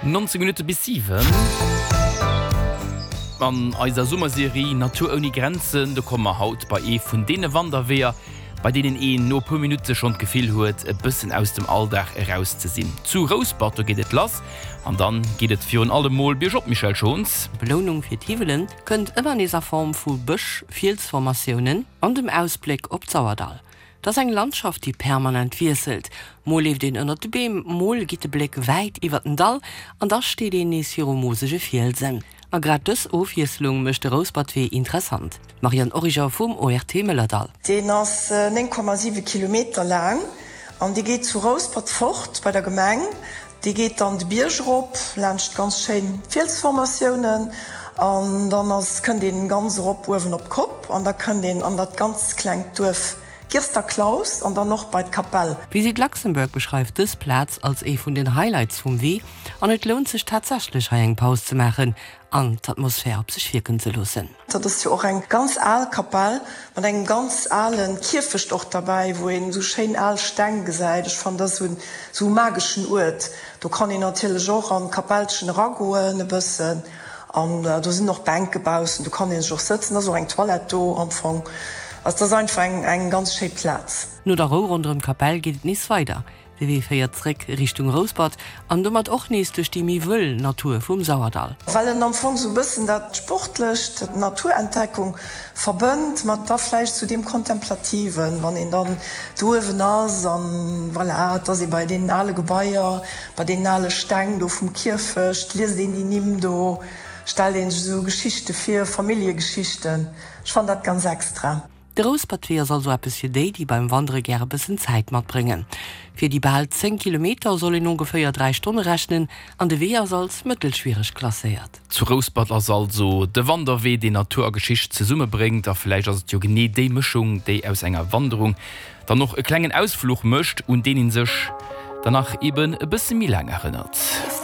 19 Minutte bis 7. An eiser Summerserie Natur ouni Grenzen, do komme mer haut bei ee vun deene Wanderweeër, bei deenen een no e puer Minutte schonn d'Gefill huet, e bëssen aus dem Alldag eraus ze sinn. Zu Rouspert, do geet et lass an dann geet et virun allem mol biergop, Michèle Schons. D'Belounung fir d'Hiwwelen kënnt ëmmer nees a Form vu Bësch-Fielsformatiounen an dem Ausbléck op d'Sauerdall. Et ass eng Landschaft, déi permanent wiesselt. Mol leeft een ënnert de Beem, mol geet de Bléck wäit iwwer den Dall an da steet een nees viru mosege Fielsen. A grad dës Ofwiesslung mécht de Rouspertwee interessant. D'Marianne Origer vum ORT Mëllerdall. Deen ass 9,7 Kilometer laang an dee geet zu Rouspert fort bei der Gemeng. Dee geet dann de Bierg erop, laanscht ganz schéin Fielsformatiounen an dann ass, kënnt een ganz erop uewen op d'Kopp an da kënnt een an dat ganz klengt Duerf Girsterklaus an dann och bei d'Kapell. Visit Luxembourg beschreift dës Plaz als ee vun den Highlights vum Wee an et lount sech tatsächlech hei eng Paus ze maachen an d'Atmosphär op sech wierken ze loossen. Dat ass jo och eng ganz al Kapell mat engem ganz ale Kierfecht och derbäi, wou een esou schéin al Steng gesäit. Ech fannen, dat ass esou e mageschen Uert. Do kann een natierlech och an d'Kapellchen eragoen e bëssen an do sinn och Bänke baussen, do kann ee sech och sëtzen. Et ass och eng Toilette do am Fong. Also dat ass einfach eng ganz schéi Plaz. No der Rou ronderëm d'Kapell geet et nees weider. De Wee féiert zréck Richtung Rouspert an domat och nees duerch déi méi wëll Natur vum Sauerdall. Well en am Fong sou bëssen dat Sportlecht, d'Naturentdeckung verbënnt mat da vläicht sou deem Kontemplativen, wann een dann do uewen ass an voilà, et ass ee bei deenen ale Gebaier, bei deenen ale Steng do vum Kierfecht, liest een déi Nimm do, stellt een sech esou Geschichte vir, Familljegeschichten. Ech fannen dat ganz extra. De Rouspertwee ass also eppes fir déi, déi beim Wandere gäre bëssen Zäit matbréngen. Fir déi bal 10 Kilometer soll een ongeféier 3 Stonne rechnen an de Wee ass als mëttelschwiereg klasséiert. Zu Rouspert ass also de Wanderwee, deen Natur a Geschicht zesummebréngt. A vläicht ass et jo genee déi Mëschung, déi aus enger Wanderung dann och e klengen Ausfluch mécht, un deen ee sech dann nach eben e bësse méi laang erënnert.